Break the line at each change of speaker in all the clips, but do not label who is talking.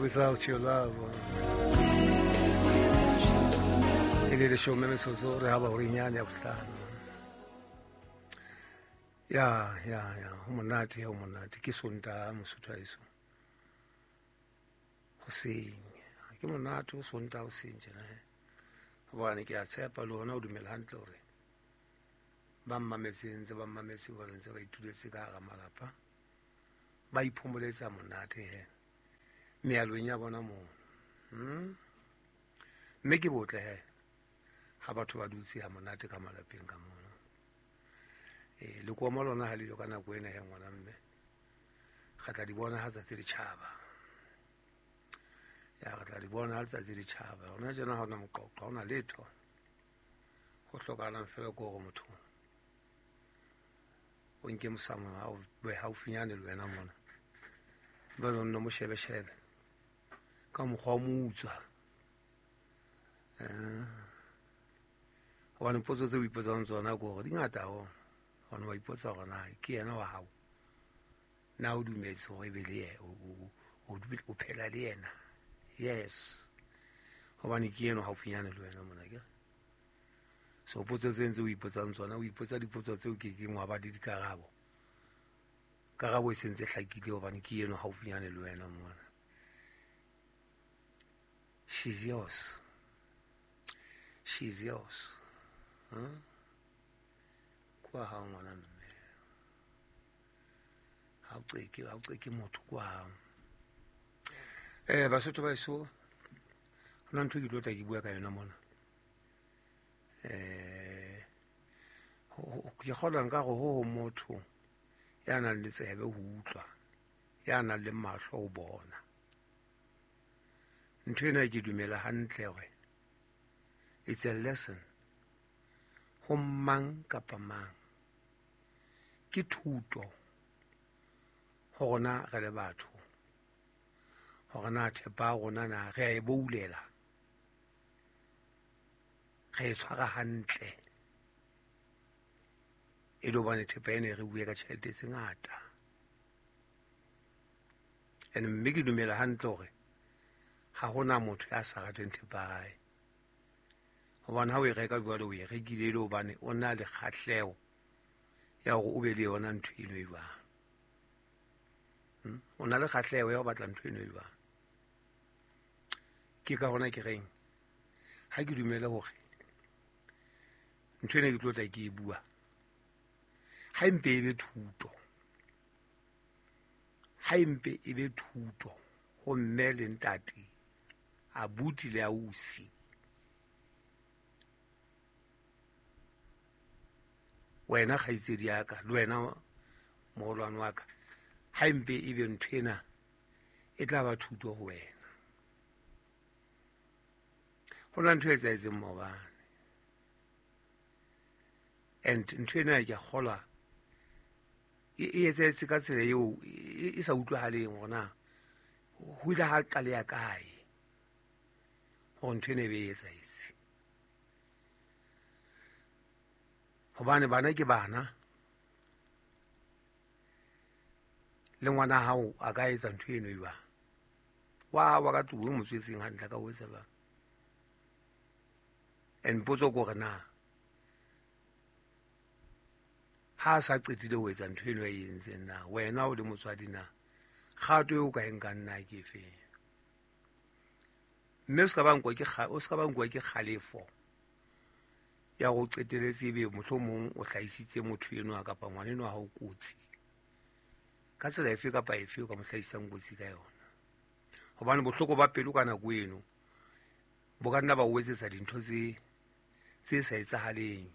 Without Your Love. E le leshome metsotso re haba horeng yane ya bohlano. Ya, ya, ya, ho monate, ho monate. Ke Sontaha Mosotho haeso. Hoseng. Ke monate ho Sontaha hoseng tjena. Hobane ke a tshepa le hona o dumela hantle hore ba mmametseng ntse ba mmametse hore ntse ba ituletse ka hara malapa ba iphomoletsa monate he mealong ya bona moo. Mme ke botle he ha batho ba dutse ha monate ka malapeng ka mono. Lekomo lona ha le yo ka nako ena he ngwana mme re tla di bona ha tsatsi le tjhaba. Ya re tla di bona ha letsatsi le tjhaba. Hona tjena ha hona moqoqo, ha hona letho. Ho hlokahalang fela ke hore motho o nke mosamo ha o be haufinyane le wena mona. Jwale o nno mo shebe-shebe ka mokgwa o mo utswa. Hobane potso tseo o ipotsang tsona ke hore di ngata haholo. Hobane wa ipotsa hore na ke yena wa hao. Na o dumetse hore ebe le yena, o phela le yena. Yes. Hobane ke eno haufinyane le wena mona ke. So potso tse ntse o ipotsang tsona, o ipotsa dipotso tseo ke keng wa ba le dikarabo. Karabo e sentse hlakile hobane ke eno haufinyane le wena mona. She's yours. She's yours. Huh? Kwa hao ngwana mme. Ha o qeke, ha o qeke motho kwa hao. Basotho ba eso, hona ntho ke tlo tla ke bua ka yona mona. Ke kgolwa nka re ho ho motho ya nang le tsebe ho utlwa, ya nang le mahlo ho bona. Ntho ena ke dumela hantle hore it's a lesson ho mang kapa mang. Ke thuto ho rona re le batho, hore na thepa ya rona na re a e boulela, re e tshwara hantle. E le hobane thepa ena e re bue ka tjhelete tse ngata. And mme ke dumela hantle hore ha hona motho ya sa rateng thepa ya hae. Hobane ha o e reka jwale o e rekile e le hobane o na le kgahleho ya hore o be le yona ntho eno e jwang. O na le kgahleho ya ho batla ntho eno e jwang. Ke ka hona ke reng ha ke dumele hore ntho ena ke tlo tla ke e bua ha empe e be thuto. Ha empe e be thuto ho mme le ntate, abuti le ausi. Wena kgaitsedi ya ka, le wena moholwane wa ka, ha empe e be ntho ena e tla ba thuto ho wena. Ho na ntho e etsahetseng maobane. And ntho ena ke a kgolwa e etsahetse ka tsela eo e sa utlwahaleng hore na ho ile ha qaleha kae hore ntho ena e be e etsahetse. Hobane bana ke bana, le ngwana hao a ka etsa ntho eno e jwang. Wa hao wa ka tlung o mo tswetseng hantle ka ho etsa jwang. And potso ke hore na ha a sa qetile ho etsa ntho eno a e entseng na, wena o le motswadi na, kgato eo o ka e nkang na ke efeng? Mme o ska ba nkwa ke o ska ba nkwa ke kgalefo ya hore o qeteletse ebe mohlomong o hlahisitse motho enwa kapa ngwana enwa ha o kotsi. Ka tsela efe kapa efe o ka mo hlahisang kotsi ka yona. Hobane bohloko ba pelo ka nako eno bo ka nna ba o etsetsa dintho tse sa etsahaleng.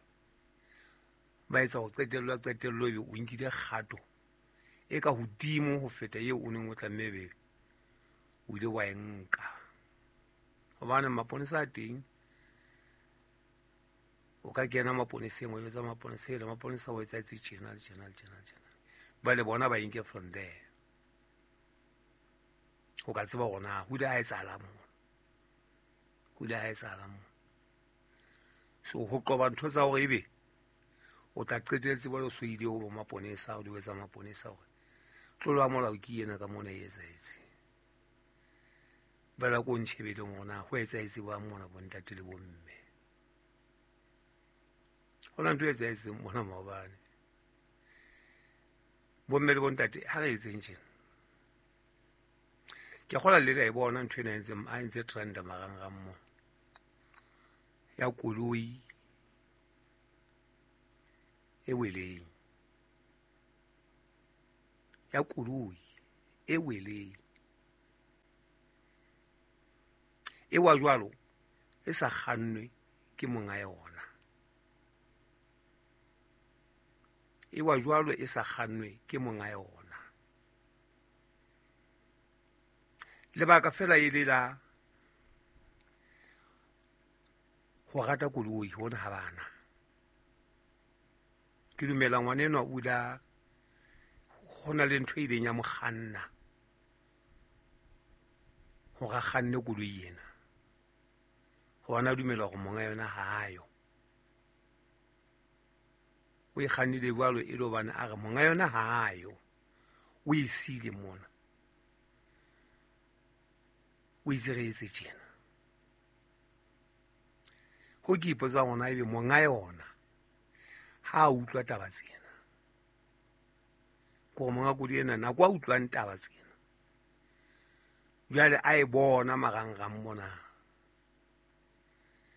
Ba etsa hore qetello qetello ebe o nkile kgato e ka hodimo ho feta eo o neng o tlameha ebe o ile wa e nka. Hobane maponesa a teng, o ka kena maponeseng, wa jwetsa maponesa ele, maponesa o etsahetse tjena le tjena le tjena le tjena. Ba le bona ba e nke from there. O ka tseba hore na ho ile ha etsahala moo. Ho ile ha etsahala moo. So ho qoba ntho tsa hore ebe o tla qetelletse jwale o so ile ho bo maponesa, o di etsa maponesa hore tlolo ya molao ke ena ka mona e etsahetse. Bala ko ntšhebeleng gona go etsaetse ba mona bontate le bomme. Go na ntho e etsaetseng mona maobane. Bomme le bontate ha re etseng tjena. Ke kgola le la e bona ntho ena e ntseng a ntse trenda marangrang mo. Ya koloi e weleng. Ya koloi e weleng. E wa jwalo e sa kgannwe ke monga yona. E wa jwalo e sa kgannwe ke monga yona. Lebaka fela e le la ho rata koloi hona ha bana. Ke dumela ngwana enwa o ile ho na le ntho e ileng ya mo kganna hore a kganne koloi ena. Hobane a dumela hore monga yona ha ayo. O e kgannile jwalo e le hobane a re monga yona ha ayo. O e siile mona. O itse re etse tjena. Ho ke ipotsa hore ebe monga yona ha a utlwa taba tsena. Ke hore monga koloi ena nako a utlwang taba tsena. Jwale a e bona marangrang mona.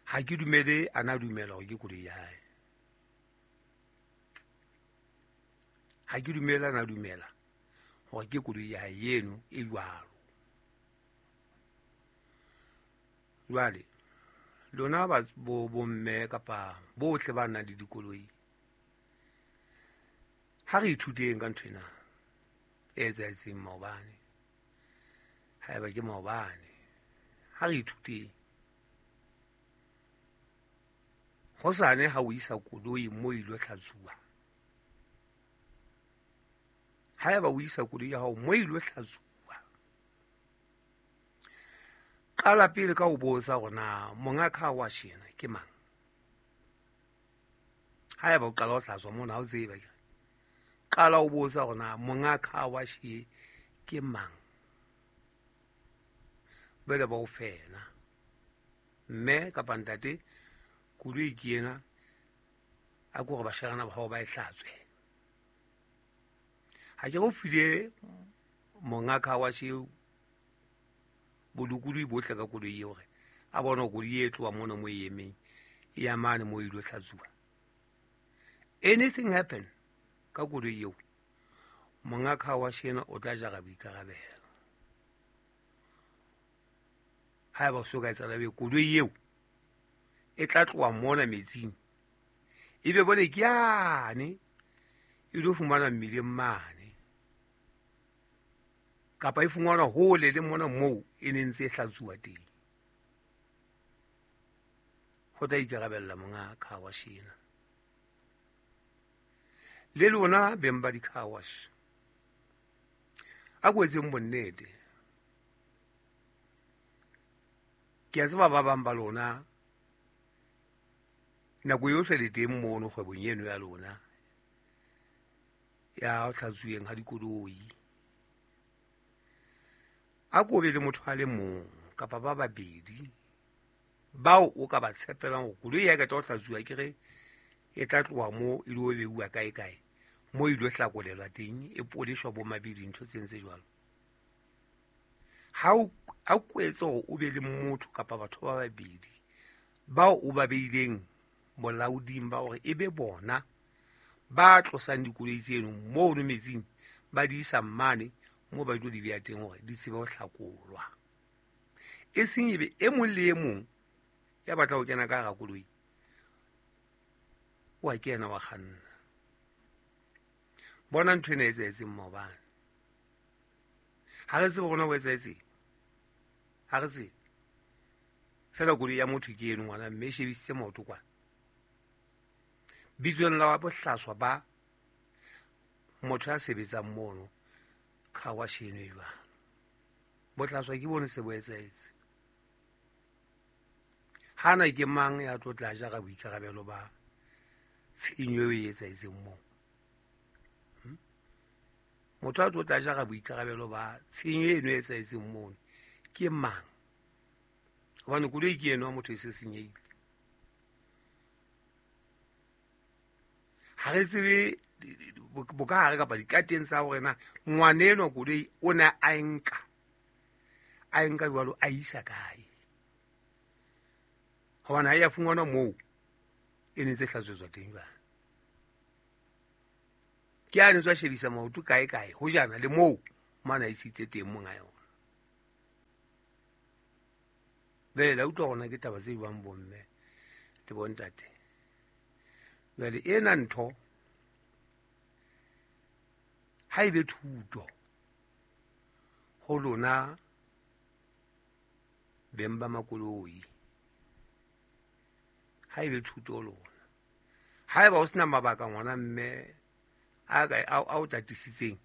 Ha ke dumele a na dumela hore ke koloi ya hae. Ha ke dumele a na dumela hore ke koloi ya hae eno e jwalo. Jwale lona ba bo bomme kapa bohle ba nang le dikoloi, ha re ithuteng ka ntho ena e etsahetseng maobane. Haeba ke maobane, ha re ithuteng. Hosane ha o isa koloi mo ilo hlatsuwa. Haeba o isa koloi ya hao mo ilo hlatsuwa, qala pele ka ho botsa hore na monga car wash ena ke mang. Haeba o qala ho hlatswa mona ha o tsebe, qala o botsa hore na monga car wash e ke mang. Jwale ba o fela. Mme kapa ntate, koloi ke ena, a ko re bashanyana ba hao ba e hlatswe. Ha ke re o file monga car wash eo bolokolohi bohle ka koloi eo hore a bone hore koloi e tloha mona mo e emeng, e ya mane mo e ilo hlatsuwa. Anything happen ka koloi eo, monga car wash ena o tla jara boikarabelo. Haeba o so ka etsahala ebe koloi eo e tla tloha mona metsing, ebe bole ke yane e lo fumana mmileng mane, kapa e fumanwa hole le mona moo e ne ntse e hlatsuwa teng. Ho tla ikarabella monga car wash ena. Le lona beng ba di-car wash, a ko etseng bonnete. Ke a tseba ba bang ba lona nako yohle le teng mono kgwebong eno ya lona ya ho hlatsuweng ha dikoloi. A ko be le motho a le mong kapa ba babedi bao o ka ba tshepelang hore koloi ya ka tla ho hlatsuwa ke re e tla tloha mo e lo beuwa kae kae, mo e lo hlakolelwa teng, e poleshwa bo mabedi, ntho tse ntse jwalo. Ha o a kwetse hore o be le motho kapa batho ba babedi bao o ba beileng bolaoding ba hore e be bona ba tlosang dikoloi tseno mono metsing, ba di isa mane moo ba tlo di beha teng hore di tsebe ho hlakolwa. E seng ebe e mong le e mong ya batla ho kena ka hara koloi wa kena wa kganna. Bona ntho ena e etsahetseng maobane. Ha re tsebe rona ho etsahetseng, ha re tsebe. Feela koloi ya motho ke eno ngwana mme e shebisitse maoto kwana. Bitsong la bohlaswa ba motho ya sebetsang mono car wash eno e jwang. Bohlaswa ke bone se bo etsahetse. Hana ke mang ya tlo tla jara boikarabelo ba tshenyo eo e etsahetseng moo? Motho a tlo tla jara boikarabelo ba tshenyo eno e etsahetseng mono ke mang? Hobane koloi ke eno motho e se senyehile. Ha re tsebe bokahare kapa dikateng tsa hore na ngwana enwa koloi o ne a nka jwalo a isa kae. Hobane ha ya fumanwa moo e ne tse hlatswetswa teng jwale. Ke a ne tswa shebisa maoto kae kae ho jana le moo mana isitse teng monga yona. Jwale la utlwa hona ke taba tse buang bomme le bontate. Jwale ena ntho ha ebe thuto ho lona beng ba makoloi. Ha ebe thuto ho lona. Haeba o sena mabaka ngwana mme a o tatisitseng,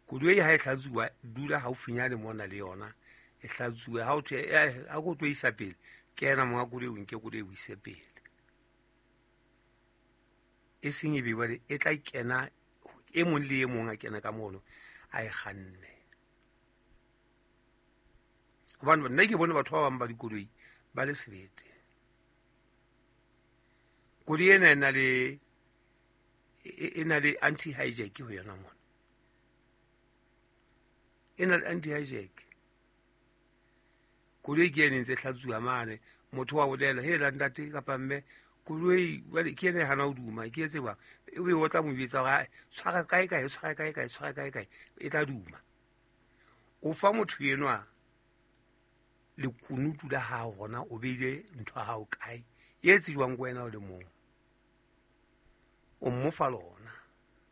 koloi ha e hlatsuwa dula haufinyane mona le yona e hlatsuwe. Ha o thwe ha go tlo isa pele, kena monga koloi o nke koloi o ise pele. E seng e be jwale e tla kena e mong le e mong a kena ka mono a e kganne. Hobane nna ke bone batho ba bang ba dikoloi ba le sebete. Koloi ena e na le anti-hijack ho yona mona. E na le anti-hijack. Koloi ke ene ntse hlatsuwa mane, motho wa bolela he la ntate kapa mme koloi jwale ke ene hana ho duma ke etse jwang, e be o tla mo bitsa hore tshwara kae kae tshwara kae kae tshwara kae kae e tla duma. O fa motho enwa lekunutu la hao hona o beile ntho ya hao kae e tsejwang ke wena o le mong. O mmofa lona,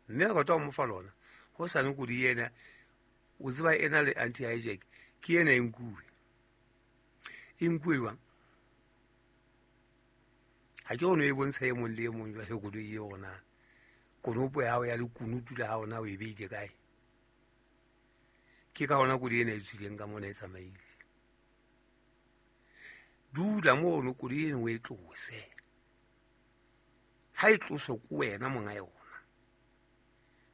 mme a rata o mmofa lona ho sane koloi ena o tseba ena le anti-hijack ke ena e nkuwe. E nkuwe jwang? Ha ke ono e bontsha e mong le e mong jwale koloi e ona konopo ya hao ya lekunutu la hao na o e beile kae. Ke ka hona koloi ena e tswileng ka mona e tsamaile. Dula mono koloi eno o e tlose. Ha e tloswe ke wena monga yona,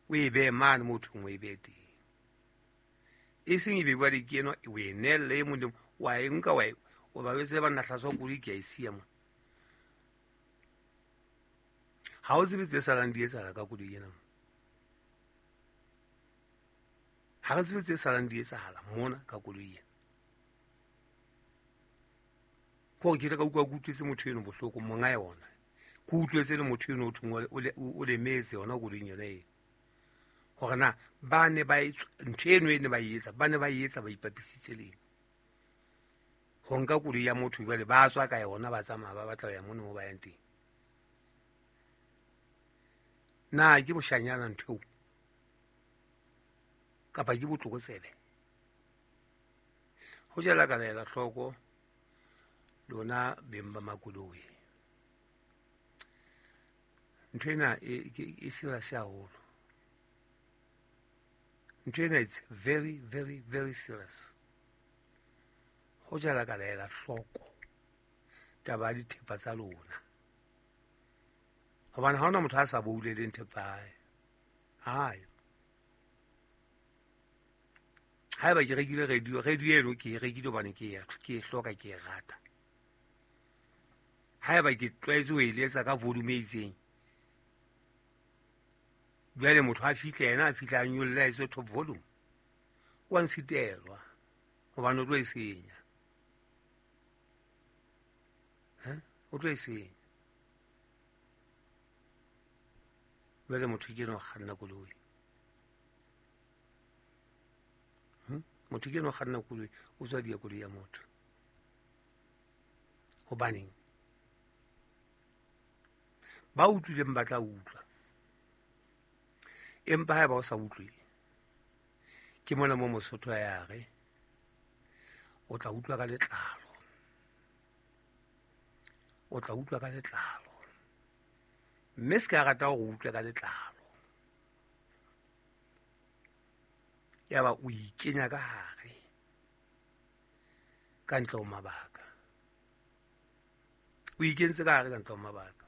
o e behe mane moo thweng o e behe teng. E seng e be jwale ke enwa o e neelle e mong le mong, wa e nka wa e o ba jwetse banna hlatswa koloi ke a e siya mona. Ha o tsebe tse salang di etsahala ka koloi ena. Ha re tsebe tse salang di etsahala mona ka koloi ena. Ko ke ile ka utlwa ke utlwetse motho eno bohloko monga yona. Ke utlwetse le motho eno o thong o lemetse yona koloing yona eo. Hore na ba ne ba ntho eno e ne ba e etsa, ba ne ba e etsa ba ipapisitse le eng. Ho nka koloi ya motho jwale ba tswa ka yona ba tsamaya ba batla ho ya mono mo ba yang teng. Na ke boshanyana ntho eo kapa ke botlokotsebe? Ho jela ka laela hloko lona beng ba makoloi. Ntho ena e serious haholo. Ntho ena it's very very very serious. Ho jela ka laela hloko taba ya dithepa tsa lona. Hobane ha hona motho a sa bouleleng thepa hae. Hayo. Haeba ke rekile radio, radio eno ke e rekile hobane ke e hloka ke e rata. Haeba ke tlwaetse ho e letsa ka volume e itseng, jwale motho a fihle yena a fihle a nyolle a etse top volume, wa nsitelwa hobane o tlo e senya. O tlo e senya. Jwale motho ke eno kganna koloi. Motho ke eno kganna koloi, o tswa dia koloi ya motho. Hobaneng? Ba utlwileng ba tla utlwa. Empa haeba o sa utlwe, ke mona mo Mosotho a ya re o tla utlwa ka letlalo. O tla utlwa ka letlalo. Mme se ka rata hore o utlwe ka letlalo. Yaba o ikenya ka hare ka ntle ho mabaka. O ikentse ka hare ka ntle ho mabaka.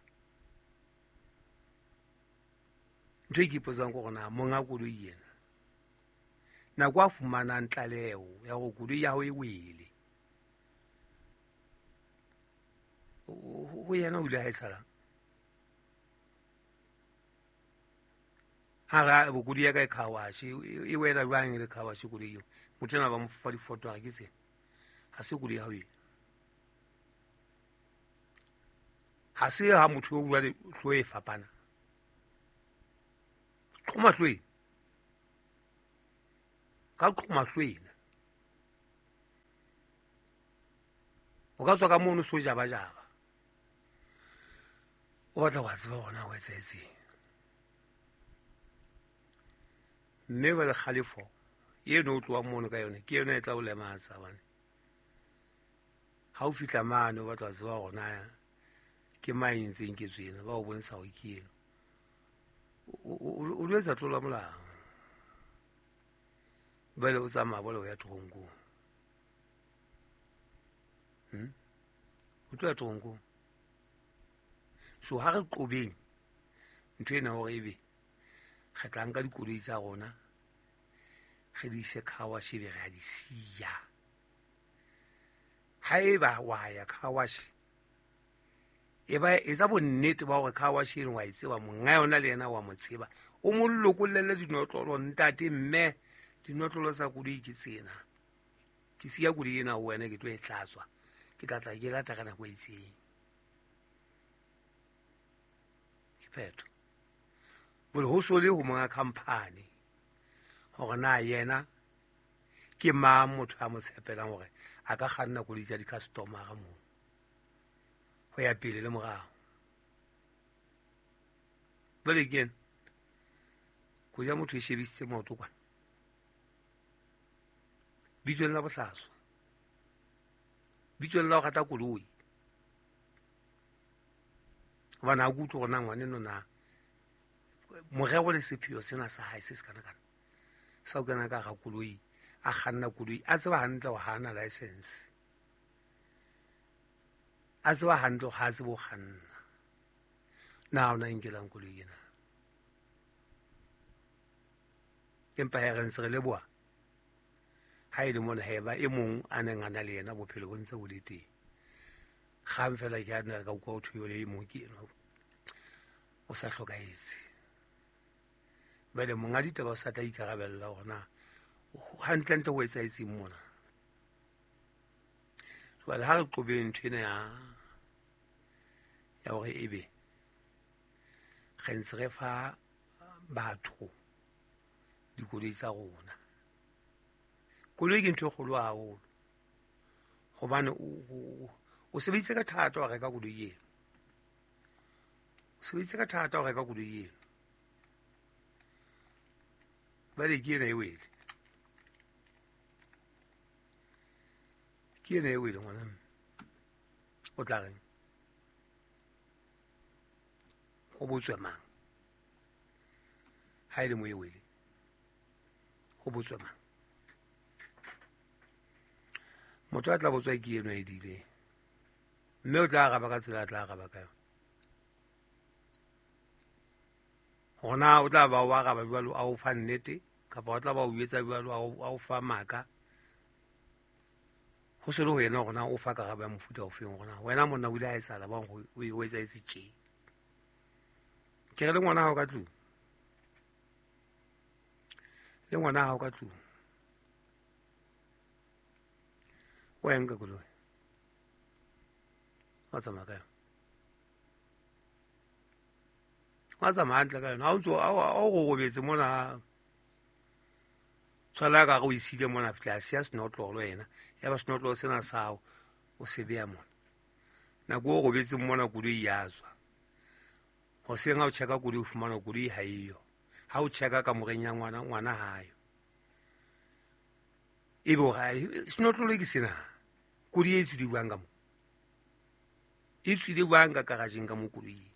Ntho e ke ipotsang ke hore na monga koloi ena nako a fumanang tlaleho ya hore koloi ya hao e wele, Ho yena o ile ha e salang ha ra bokodi ya ka e car wash e wela jwang le car wash koloi eo motho ena ba mo fa difoto a re ke tsena ha se koloi ya hao ena ha se ha motho o jwale hlo e fapana qhoma hlo ena ka qhoma hlo ena o ka tswa ka mono so jaba jaba o batla wa tseba bona o etsahetseng mme ba le kgalefo eno o tloang mono ka yone ke yone e tla o lematsa bane ha o fihla mane o batla wa tseba gona ke mang e ntseng ke tswena ba o bontsha gore ke eno o lo etsa tlola molao bale o tsamaya bole o ya toronkong o tlo ya toronkong. So ha re qobeng ntho ena hore ebe re tla nka dikoloi tsa rona re di ise car wash ebe re a di siya. Haeba wa ya car wash e ba etsa bonnete ba hore car wash eno wa e tseba monga yona le yena wa mo tseba o mo lokollele dinotlolo ntate mme dinotlolo tsa koloi ke tsena ke siya koloi ena ho wena ke tlo e hlatswa ke tla tla ke lata ka nako e itseng ke phetho. Bole ho so le ho monga company hore na yena ke mang motho a mo tshepelang hore a ka kganna koloi tsa di-customer-a moo ho ya pele le morao. Jwale ke ena koloi ya motho e shebisitse maoto kwana bitsong la bohlaswa bitsong la ho rata koloi hobane ha ke utlwe hore na ngwaneno na morero le sepheo sena sa hae se se kana kana sa ho kena ka hara koloi a kganna koloi a tseba hantle hore ha ana license a tseba hantle hore ha a tsebe ho kganna na o na nkelang koloi ena empa he re ntse re leboha ha e le mona he ba e mong a neng a na le yena bophelo bo ntse bo le teng kgang fela ke a ne re ka utlwa ho thwe le e mong ke enwa o sa hlokahetse. Jwale monga ditaba o sa tla ikarabella hore na hantlentle ho etsahetseng mona. Jwale ha re qobeng ntho ena ya hore ebe re ntse re fa batho dikoloi tsa rona. Koloi ke ntho e kgolo haholo hobane o sebeditse ka thata ho reka koloi eno. O sebeditse ka thata ho reka koloi eno. Bale ke ena e wele. Ke ena e wele ngwana mme. O tla reng? Ho botswe mang? Ha e le mo e wele. Ho botswe mang? Motho a tla botswa ke eno e dileng. Mme o tla araba ka tsela a tla araba ka yona. Hore na o tla ba o araba jwalo a o fa nnete kapa o tla ba o etsa jwalo a o fa maka. Ho se le ho yena hore na o fa karabo ya mofuta ofeng hore na wena monna o ile ha e sala bang o etsahetse tje. Ke re le ngwana hao ka tlung. Le ngwana hao ka tlung. O ya nka koloi. Wa tsamaya ka yona. Wa tsamaya hantle ka yona. Ha o ntso o robetse mona tshwala ka re o isile mona fihla a siya senotlolo yena. Ya ba senotlolo sena sa hao o se beha mona. Nako o robetseng mona koloi ya tswa. Hoseng ha o check-a koloi o fumana koloi ha eyo. Ha o check-a kamoreng ya ngwana, ngwana ha yo. Ebe o re senotlolo ke sena. Koloi e tswile jwang ka mo? E tswile jwang ka garageng ka mo koloi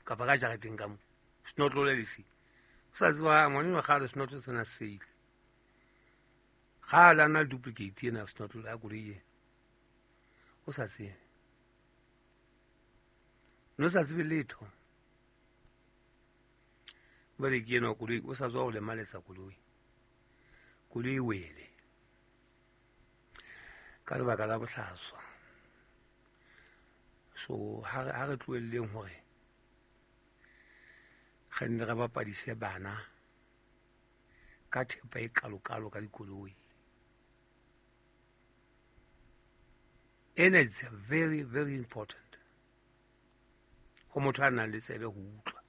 kapa ka jareteng ka mo? Senotlolo le se. O sa tseba ngwaneno kgale senotlolo sena se ile. Kgale a na le duplicate ena senotlolo ya koloi ena. O sa tsebe. No sa tsebe letho. Jwale ke ena koloi o sa tswa ho lemaletsa koloi. Koloi e wele. Ka lebaka la bohlaswa. So ha re tlohelleng hore re nne re bapadise bana ka thepa e kalokalo ka dikoloi. Ena it's very very important ho motho a nang le tsebe ho utlwa.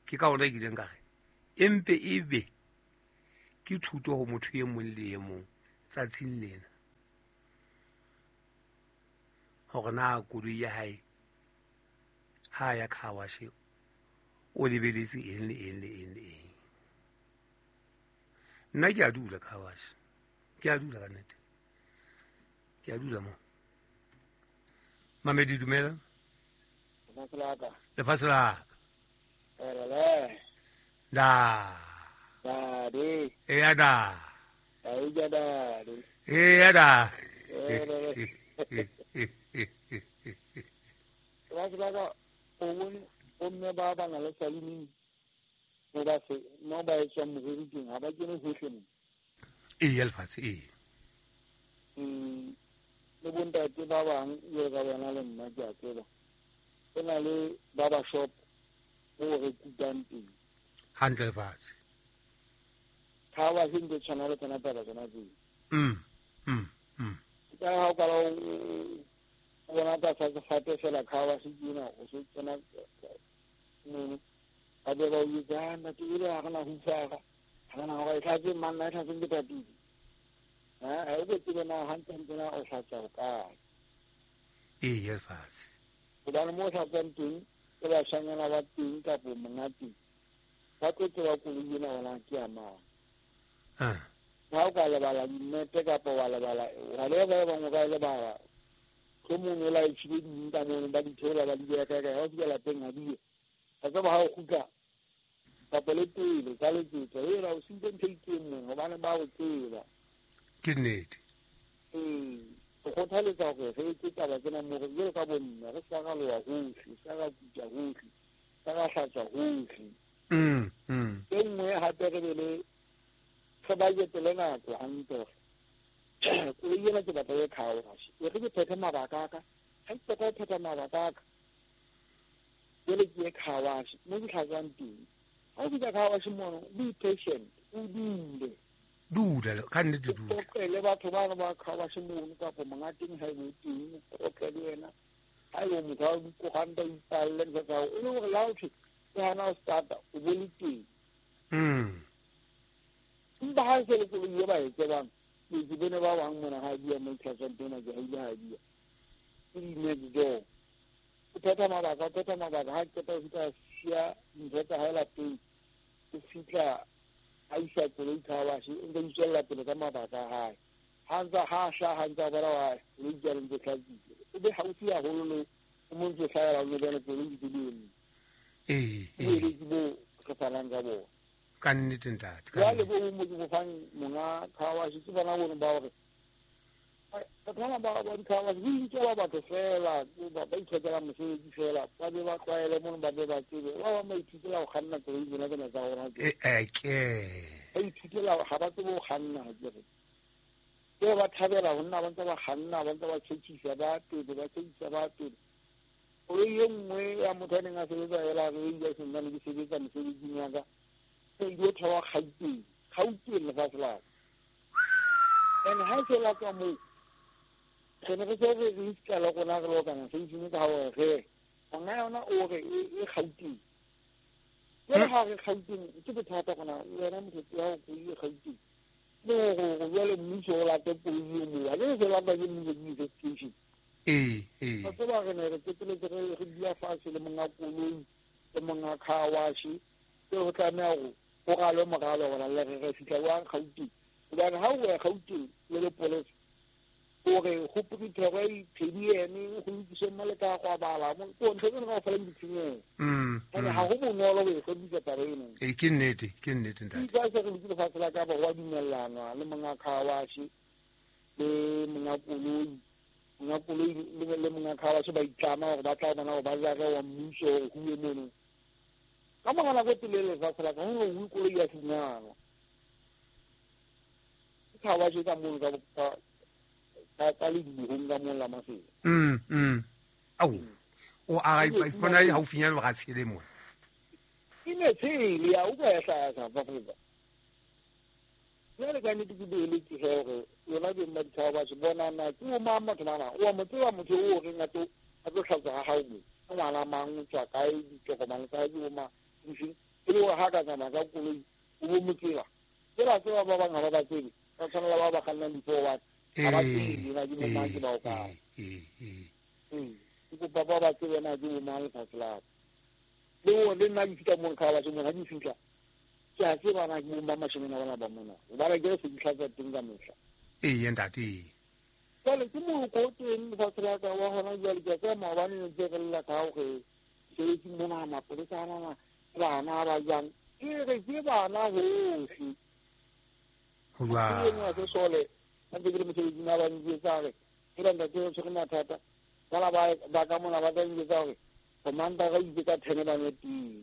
Ke ka hona ke ileng ka re empe ebe ke thuto ho motho e mong le e mong tsatsing lena hore na koloi ya hae ha ya car wash o lebeletse eng le eng le eng le eng. Nna ke a dula car wash, ke a dula ka nnete, ke a dula mo. Mamedi dumela. Lefatshe la ka. Da. Eya da. Eya da.
Lefatshe la ka o bone bomme ba ba na le saluni mo ba se mo ba etsang moriri teng ha ba kene hohle mo.
Eya lefatshe ee.
Le bontate ba bang jwalo ka bona le nna ke a tseba. Ho na le barber shop mo re kutang teng.
Hantle lefatshe.
Car wash ntse tshwana le tsona taba tsona tseo. Ka ha o kala o bona tlasa sefate fela car wash ke ena o se tsena mono. Ba be ba o jwetsa, ntate ele ha re na hufara. Ha re na hore e tlhatse mang na e tlhatse ke tatile. Ha o tsebe na hantle hantle na o hlatsa ho kae.
Eya lefatshe.
Hobane mo o hlatsang teng ke bashanyana ba teng kapo monga teng. Ba tlo tseba koloi ena hore ke ya mang. Ha o ka lebala dimmete kapa wa lebala whatever ba bang o ka e lebala. Mohlomong o laetjhile ding ka mono ba di theola ba di beha kae kae. Ha o fihla lapeng ha di yo. Wa tseba ha o kgutla kapa le pele ka letsetsa hela o sentse ntho e itseng mong hobane ba o tseba.
Ke nnete.
Ee, re kgothaletsa hore re etse taba tsena mo re jwalo ka bomme re ska ra loha hohle, ska ra kuta hohle, ska ra hlatswa hohle. E nngwe hape re be le re budget le nako hantle hore koloi ena ke batla e car wash. E re ke phethe mabaka a ka, ha ke qeta ho phetha mabaka a ka jwale ke ye car wash mo ke hlatswang teng. Ha o fihla car wash mono be patient, o dule.
Dula ka nnete dula.
O qoqele batho bano ba car wash mono kapa monga teng ha ebe o teng, o qoqe le yena. Ha ebe motho a dikoranta o ipalle ntho tsa hao, e le hore le ha o thwe ke hana ho starta o bo le teng. Empa ha e se le koloi e ba e tsebang, ke bone ba bang mona ha bua mo tlhatswang teng ke ha ile ha bua. Ke di-next door. O phetha mabaka, o phetha mabaka ha qeta ho fihla siya dintho tsa hae lapeng. O fihla a isa koloi car wash, o ntse a itswella pele ka mabaka a hae. Ha ntse ha hlaha ntse a bona wa koloi jwale ntse hlatswitse. O be haufi haholo le o mo ntse hlahela o bone koloi ntse di eme.
Ee.
Ke bo re fanang ka bona.
Ka nnete ntate.
Jwale bo mo ke bo fang monga car wash ke bona bone ba hore batho bana ba di car wash di nkela batho fela ba ithekela mosebetsi fela ba be ba tlwaele mono ba be ba tsebe ba bang ba ithutela ho kganna koloi tsena tsena tsa rona.
Ke.
Ba ithutela ha ba tsebe ho kganna ke re. Ke ba thabela ho nna ba ntse ba kganna ba ntse ba tjhetjhisa ba pele ba tjhetjhisa ba pele. Koloi e nngwe ya motho a neng a sebetsa ela re ile santsane ke sebetsa mosebetsing wa ka. E ile theoha Gauteng, Gauteng lefatshe la ka. And ha se la tswa moo re ne re se re riska le rona re lokana se ka hore re monga yona o re e Gauteng. Jwale ha re Gauteng ke bothata rona wena motho ya ho koloi e Gauteng. Le hore jwale mmuso o late koloi e moo. Ha ke se lata ke mmuso ke investigation.
Ee.
Ba tseba re ne re qeteletse re dula fatshe le monga koloi le monga car wash. Ke ho tlameha hore ho ralwe moralo hore le re fihla jwang Gauteng. Hobane ha o ya Gauteng le lepolesa hore ho Pretoria ene ho lokiswe mo le ka go bala mo ko ntho tsena kaofela di ditshenyehelo. Ene ha ho bonolo ho e hlwekisa taba eno.
Ee, ke nnete, ke nnete ntate.
Ke se re lokile fatshe la ka ba ho dumellanwa le monga car wash le monga koloi. Monga koloi le monga car wash ba itlama hore ba tla bona hore ba jare wa mmuso hore ho uwe mono. Ka mora nako e telele lefatshe la ka ho no koloi ya fumanwa. Ke car wash ka mono ka ka le dihong ka mono la Mafelo.
Ao o a ipona haufinyane ba tshele mona.
Ke ne tshele ya utlwa ya hlaya South Africa. Jwale ka nnete ke beeletse he hore yona beng ba di-car wash bona na ke o mang motho bana o mo tseba motho o reng a tlo hlatswa ha hao mo ngwana mang o tswa kae ditokomane tsa hae ke bo mang e le hore ha ka tsamaya ka koloi o bo mo tseba tsela tseba ba bang ha ba ba tsebe ba tshwanela ba ba kgannang di-forward ha ba tsebe na ke bo mang ke bao kae. Ke kopa ba ba tsebe na ke bo mang lefatshe la ka. Le hore le nna ke fihla mo car wash mona ha ke fihla ke a tseba na ke bo mang mashemane bana ba mona hobane ke se di hlatswa teng ka mehla.
Ee ntate.
Jwale ke moloko o teng lefatshe la ka wa hona jwale ke a tseba maobane ne ntse re lla ka hore sebetsing mona mapolesa ana bana ba jang ke re ke bana hohle.
Ho jwang?
Ke enwa se sole a ntse ke le mosebetsing a ba njwetsa hore ke la ntate o tshwere mathata bana ba ka mona ba tla njwetsa hore commander ga itse ka 10 ba nwe tee.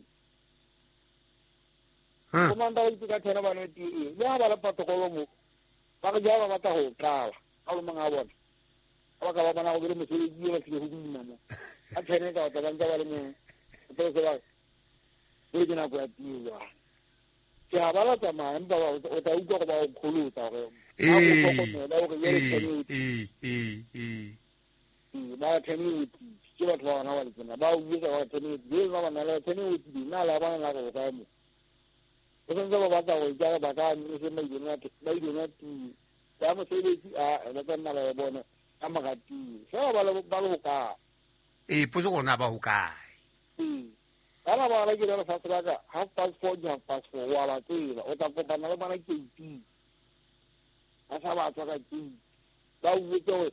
Commander ga itse ka 10 ba nwe tee. Le ha ba le protocol mo ba re ja ba batla ho qala ka lo mang a bona. Ba ka ba bona go le mosebetsi ba tlile go boima mo. A 10 ka batla ba ntse ba le mo. Ba se ba le ke nako ya tee jwale. Ke ha ba la tsamaya empa o tla utlwa gore ba o kgolotsa hore ba o hlokomela hore ba 10 ke batho ba bona ba le tsena ba o botsa ba 10 le ba bana le 10 nna la bona la go kae mo. O santse ba batla go ja ba ka mme se ba ile na tee ya mosebetsi a ba tla nna ba bona ka mora tee fela ba le ho kae.
Ee potso gona ba ho kae.
Bana ba ba ke le lefatshe la ka 4:30 ke 4:30 wa ba tseba o tla kopana le bona gate ba sa ba tswa ka gate ba o botse hore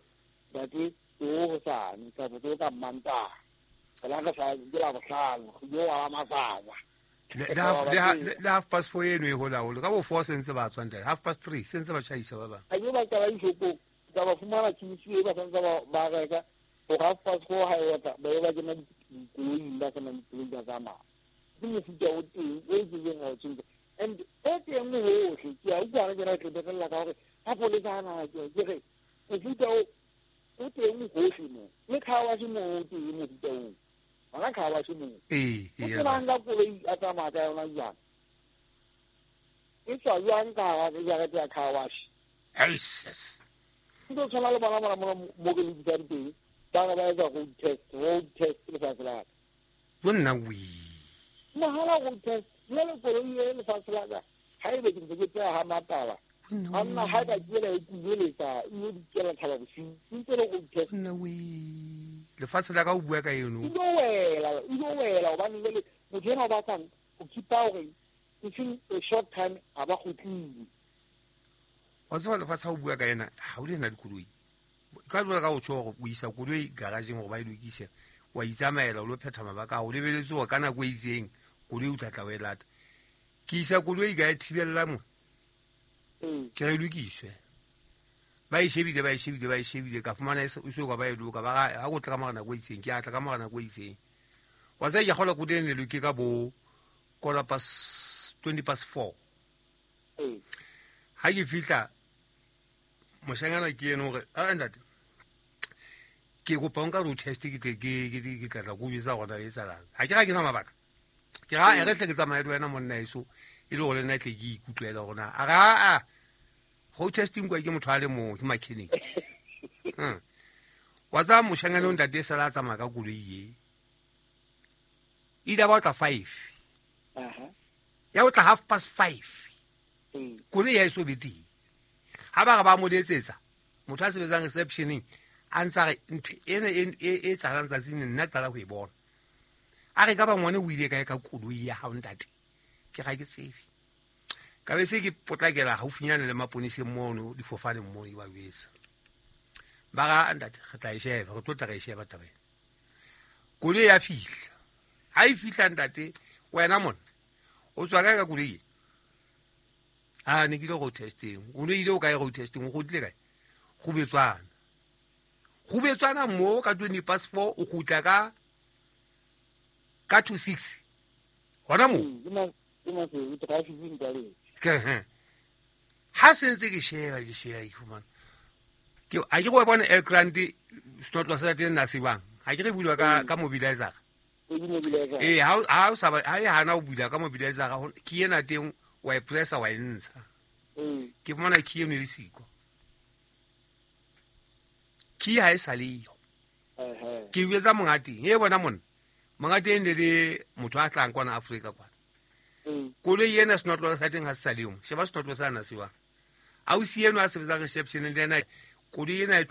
ntate o hosane kapa o ka Mantaha la ka sa ke la bohlano yo wa matsatsa
le 4:30 eno e hola holo ka bo 4 sentse ba tswa ntate 3:30 sentse ba tjhaisa ba bang
a ke ba qala dishopong ka ba fumana tjhisi e ba santse ba reka ho 4:30 ha e otla ba ba kena dikoloing ba kena dikoloing ba tsamaya. Ke mofuta o teng o kileng wa o tjhentjha and o teng hohle ke a utlwa re ke ra tlebelela ka hore mapolesa ana ke re mofuta o teng hohle mo le car wash mo o teng mofuta oo hona car wash mo.
Ee
o nka koloi a tsamaya ka yona jwang e tswa jwang ka hara jarete ya car wash. Ke tlo tshwana le bona mona mo ke lebisang teng ba ba etsa road test lefatshe la ka.
Bonna wi.
Mahala road test jwale koloi e lefatshe la ka ha ebe ke ntse ke tseya ha mataba anna ha ka kela e kubeletsa e yo dikela thaba bosiu ntse le road test.
Bonna wi. Lefatshe la ka o bua ka eno.
E lo wela hobane jwale motho ena o batlang ho keep-a hore within a short time a ba kgutlile.
Wa tseba lefatshe ha o bua ka ena ha o le na dikoloi. Ka jwale ka o tjho hore o isa koloi garageng hore ba e lokise wa itsamaela o lo phetha mabaka o lebeletse hore ka nako e itseng koloi o tla tla o e lata. Ke isa koloi ka e thibella mo ke re lokiswe ba e shebile ka fumana e so ka ba e loka ba ha go tla ka mora nako e itseng ke a tla ka mora nako e itseng wa tsaya ke kgola koloi ne loke ka bo 4:20. Ha ke fihla moshanyana ke eno hore a ntate ke kopa nka road test ke ke tla go bitsa gona e tsalang ha ke ga ke na mabaka ke ga e re tle ke tsamaye le wena monna eso e le gore nna tle ke ikutlwela gona a ga a road testing kwa ke motho a le mong ke mechanic. Wa tsa moshanyana o ntate sala tsamaya ka koloi e ile ba tla 5 ya o tla 5:30 koloi ya eso be teng ha ba re ba mo letsetsa motho a sebetsang receptioning a ntsa re ntho ena e tsalang tsatsing nna qala ho e bona a re ka ba ngwane o ile kae ka koloi ya hao ntate ke ga ke tsebe ka be se ke potlakela haufinyane le maponeseng mono difofaneng mono ke ba jwetsa ba ga ntate re tla e sheba re tlo tla re e sheba taba ena koloi ya fihla ha e fihla ntate wena monna o tswa kae ka koloi a ne ke ile road testing o ne ile o kae road testing o kgutlile kae go betswana mo ka 4:20 o kgutla ka 26 hona mo ha sentse ke sheba ke fumana ke a ke go bona El Grande snotlwa sa teng na sebang Ha ke re bulwa ka mobilizer. Ee, ha o sa ha e hana o bula ka mobilizer, key ena teng wa e pressa wa e ntsha. Ke fumana key eno e le siko. Key ha e sa leyo. Ke jwetsa monga teng, e bona monna. Monga teng ne le motho a tlang kwana Afrika kwana. Koloi ena senotlolo sa teng ha se sa leyo. Sheba senotlolo sa na se wa. Ausi eno a sebetsang reception le ena koloi ena e